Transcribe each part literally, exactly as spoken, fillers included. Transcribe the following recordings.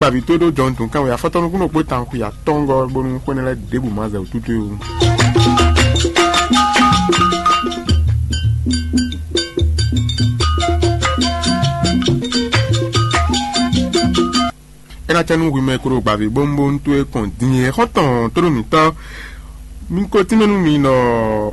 Gbavǐ tó ɖó jɔnutun kan wɛ afɔtɔnukúnnú kpó tanxwi atɔ́ngɔ́ bónú xwé énɛ́ lɛ́ɛ ɖěbǔ ma zɛ wǔtútú ó. É ná cɛ nú hwi mɛ e ko ɖo gbavǐ bónúbónú towe kɔn din é xɔ́ntɔn tónú mǐtɔn. Mi ko tínmɛ nú mi nɔ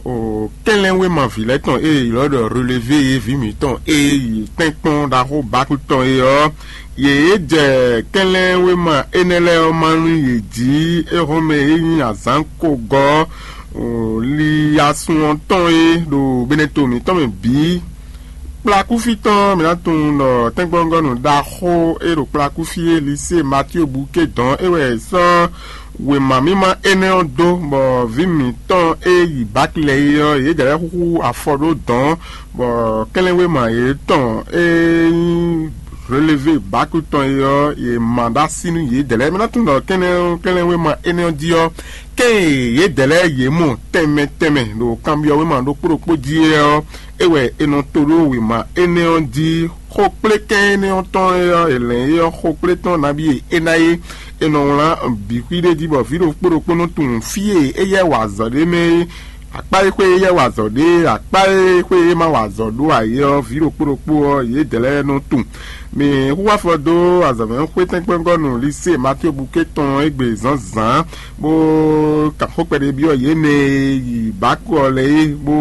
o kɛnlɛ́nwéma vǐ lɛ́ɛ tɔn e è ylɔ́ ɖɔ relevé e vǐ mǐtɔn e yi tɛ́nkpɔ́n ɖaxó Baku tɔn é ɔ́, yě jɛ kɛnlɛ́nwéma énɛ́ lɛ́ɛ ɔ́ má nú yě jí éhɔ́nmɛ e nyí azǎn ko gɔ́ li asun ɔ́ tɔn é ɖo Beneto mǐtɔn mɛ bǐ. Kplakúfí tɔn mǐ ná tunwun ɖɔ tɛ́nkpɔ́ngɔ́nú ɖaxó e ɖo kplakúfí é Lisée Matío Buké dɔn é wɛ è sɔ́ wěma mímá énɛ́ ɔ́ dó, bɔ vǐ mǐtɔn e yi Baki lɛ́ɛ é ɔ́, yědɛɛ lɛ́ɛ xúxú afɔ ɖó dɔ̌n, bɔ kɛnlɛ́nwéma yětɔn e nyí relevé Baki tɔn é ɔ́, yě ma ɖó así nú yědɛɛ lɛ́ɛ. Mǐ ná tunwun ɖɔ kɛnlɛ́n kɛnlɛ́nwéma énɛ́ ɔ́ jí ɔ́, kɛ́n e yědɛɛ lɛ́ɛ yě mɔ tɛnmɛ tɛnmɛ ɖo kanbyɔ́wéma ɖokpó ɖokpó jí é ɔ́, é wɛ è nɔ to ɖó wěma énɛ́ ɔ́ jí. Xokplékɛ́n énɛ́ ɔ́ tɔn é ɔ́, è lɛ̌n é ɔ́, xokplé tɔn nabí e é ná é, è nɔ wlán bǐ xwí ɖé jí, bɔ vǐ ɖokpó ɖokpó nɔ tunwun fí e éyɛ́ wa azɔ̌ ɖé mɛ é, akpá e xwé éyɛ́ wa azɔ̌ ɖé, akpá e xwé é ma wa azɔ̌ ɖó ǎ é ɔ́, vǐ ɖokpó ɖokpó ɔ́, yědɛɛ lɛ́ɛ nɔ tunwun. Mǐ hu afɔ dó azɔ̌mɛ xwé tɛ́nkpɔ́ngɔ́nú Lisée Matío Buké tɔn égbé zǎnzǎn, bó kan xó kpɛɖé byɔ́ yě mɛ e yi Bako ɔ́ lɛ́ɛ é, bó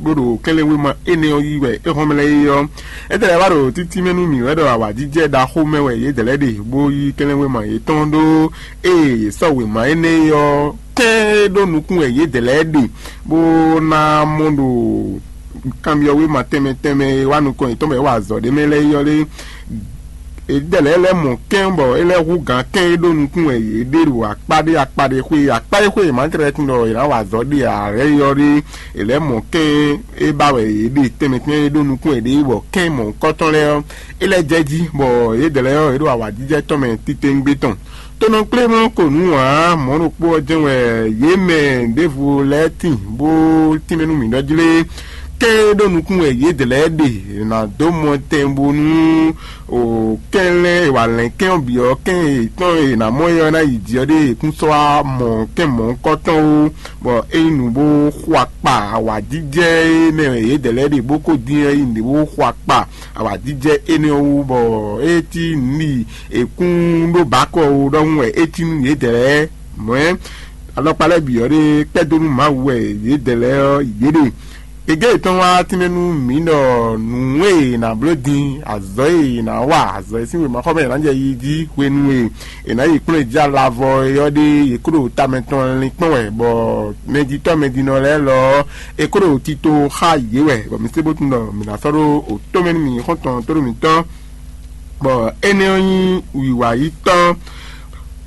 bó ɖo kɛnlɛ́nwéma énɛ́ ɔ́ yí wɛ é hɔn mɛ lɛ́ɛ é ɔ́. Étɛ́ lɛ́ɛ wá ɖo títí mɛ nú mǐ wɛ ɖɔ awǎjijɛ ɖaxó mɛ wɛ yědɛɛ lɛ́ɛ ɖe, bó yí kɛnlɛ́nwéma yětɔn ɖó ée yě sɔ́ wěma énɛ́ é ɔ́, kɛ́n é ɖó nukún wɛ yědɛɛ lɛ́ɛ ɖe, bó ná mɔ ɖo kanbyɔ́wéma tɛnmɛ tɛnmɛ e wá nukɔn yětɔn bɔ é wa azɔ̌ ɖé mɛ lɛ́ɛ é ɔ́ lé. Yědɛɛ lɛ́ɛ lɛ́ mɔ kɛ́n bɔ é lɛ́ hú gǎn kɛ́n e ɖó nukún wɛ yě ɖe ɖo akpá ɖé akpá ɖé xwé akpá e xwé è ma tlɛ tunwun ɖɔ è nǎ wa azɔ̌ ɖe ǎ lɛ́ɛ é ɔ́ ɖé, è lɛ́ mɔ kɛ́n e ba wɛ yě ɖe tɛnmɛ tɛnmɛ e ɖó nukún wɛ ɖe bɔ kɛ́n mɔ̌hunkɔtɔn lɛ́ɛ ɔ́, é lɛ́ jɛ jí, bɔ yědɛɛ lɛ́ɛ ɔ́, yě ɖo awǎjijɛ tɔn mɛ titewungbe tɔn. Tonɔkplémɔ ko nǔ ǎ, mɔ̌ ɖokpó ɔ́ jɛ́n wɛ yě mɛ ɖěvo lɛ́ɛ tíin bó tínmɛ nú mǐ ɖɔ jlé. Kɛ́n e ɖó nukún wɛ yědɛɛ lɛ́ɛ ɖe, è nǎ dó mɔ tɛn bónú o kɛnlɛ́n e wǎ lɛ́n kɛ́n ɔ́ bǐ ɔ́, kɛ́n yětɔn e è nǎ mɔ é ɔ́ ná yi jǐ ɔ́ ɖé è kún sɔ́ wá mɔ kɛ́n mɔ̌hunkɔtɔn ó, bɔ é nyí nǔ bó xo akpa awǎjijɛ e mɛ wɛ yědɛɛ lɛ́ɛ ɖe bó ko dín ɔ́, é nyí nǔ ɖé bó xo akpa awǎjijɛ énɛ́ ɔ́ wú, bɔ é cí nǔ ɖi è kún ɖó bǎkɔ ó ɖɔhun wɛ é cí nú yědɛɛ lɛ́ɛ. Mɔ̌ alɔkpa lɛ́ɛ bǐ ɔ́ ɖe kpɛ́ dó nú Mawu wɛ yědɛɛ lɛ́ɛ ɔ́, yě ɖe. Gěgé yětɔn wá tínmɛ nú mǐ ɖɔ nǔ e è nǎ bló din, azɔ̌ e è nǎ wa, azɔ̌ e sín wěmaxɔmɛ è nǎ jɛ yi jí hwenu e è nǎ yi kplɔ́n jí alavɔ é ɔ́ ɖe, yě kó ɖo tamɛ tɔn linkpɔ́n wɛ, bɔ mɛjitɔ́ mɛjinɔ lɛ́ɛ lɔ ɔ́, è kó ɖo tito xá yě wɛ, bɔ mǐ sé bó tunwun ɖɔ mǐ ná sɔ́ ɖó òtó mɛ nú mǐ xɔ́ntɔn tóɖó mǐtɔn, bɔ énɛ́ ɔ́ nyí wǐwá yi tɔn.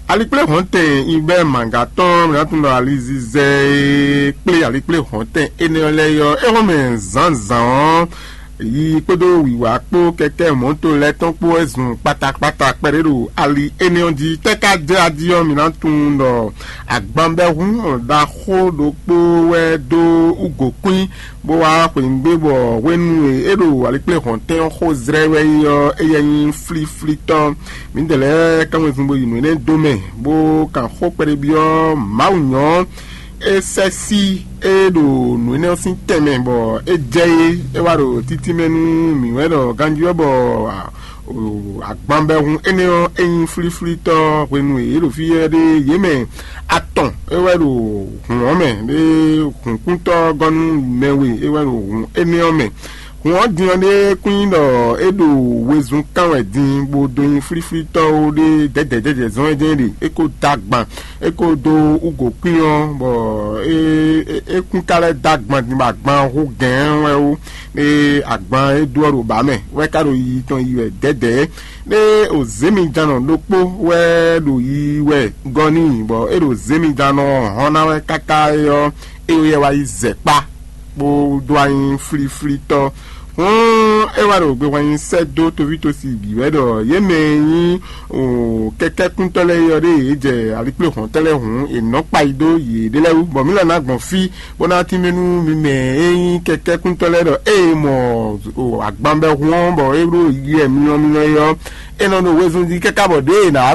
Alikpléhɔ̌ntɛn Ibɛ́ Manga tɔn, mǐ ná tunwun ɖɔ alizizɛ e kplé alikpléhɔ̌ntɛn énɛ́ ɔ́ lɛ́ɛ é ɔ́, é hɔn mɛ zǎnzǎn ɔ́, yi kpódó wǐwá kpó kɛkɛ́ mɔ̌to lɛ́ɛ tɔn kpó wɛ zun kpatakpata kpɛɖé ɖo ali énɛ́ ɔ́ jí. Tɛ́ ka jɛ ají ɔ́, mǐ ná tunwun ɖɔ agbanbɛ́hún ɖaxó ɖokpó wɛ dó wúgǒkwín bó wá xweyǐgbe bɔ hwenu e é ɖo alikpléhɔ̌ntɛn ɔ́ xó zlɛ́ wɛ é ɔ́, éyɛ́ nyí flíflítɔ́. Mǐdɛɛ lɛ́ɛ kán wezun bo yi nǔ énɛ́ dó mɛ, bó kan xó kpɛɖé byɔ́ Mawu nyɔ̌. É sɛ́ sí é ɖo nǔ énɛ́ ɔ́ sín tɛnmɛ, bɔ é jɛ é, é wá ɖo títí mɛ nú mǐ wɛ ɖɔ ganjí ɔ́, bɔ agbanbɛhun énɛ́ ɔ́, é nyí flíflítɔ́ hwenu e yě ɖo fí ɔ́ ɖe, yě mɛ atɔn é wɛ ɖo hǔn ɔ́ mɛ, ɖé hǔnkúntɔ́ gɔ́ nú mɛ we é wɛ ɖo hǔn énɛ́ ɔ́ mɛ. Hǔn ɔ́ din ɔ́ ɖe kún nyí ɖɔ é ɖo wezun kán wɛ din, bó dó nyí flíflítɔ́ ó ɖé dɛ̌dɛ̌ jɛ́jɛ́ zɔ́n é jɛ́n ɖe é ko dó agban, é ko dó wúgǒkwín ɔ́, bɔ é é kún ka lɛ́ dó agban din bɔ agban ɔ́ hú gɛ̌ɛn wɛ ó. Ée agban e dó ɔ́ ɖo bǎ mɛ, wɛ ka ɖo yiyi tɔn yi wɛ dɛ̌dɛ̌. Ɖé o zěmijannɔ ɖokpó wɛ ɖo yiyi wɛ gɔ́ n'i, bɔ é ɖo zěmijannɔ ɔ́ hɔn ná wɛ káká é ɔ́, é yɛ wá yi zɛ kpá, bó dó wá nyí flíflítɔ́. Hɔn é wá ɖo gbehwan nyi sɛ́ dó toví tosi bǐ wɛ ɖɔ yě mɛ e nyí kɛkɛ́kúntɔ́ lɛ́ɛ ɔ́ ɖé yě jɛ alikpléhɔ̌ntɔ́ lɛ́ɛ hǔn, è nɔ́ kpa yi dó yěɖée lɛ́ɛ wú, bɔ mǐ lɔ ná gbɔn fí bó ná tínmɛ nú mi mɛ e nyí kɛkɛ́kúntɔ́ lɛ́ɛ ɖɔ ée mɔ agbanbɛhun ɔ́ bɔ é ɖo yɛ myɔmyɔ é ɔ́, é nɔ ɖo wezun jí káká bɔ ɖěe è nǎ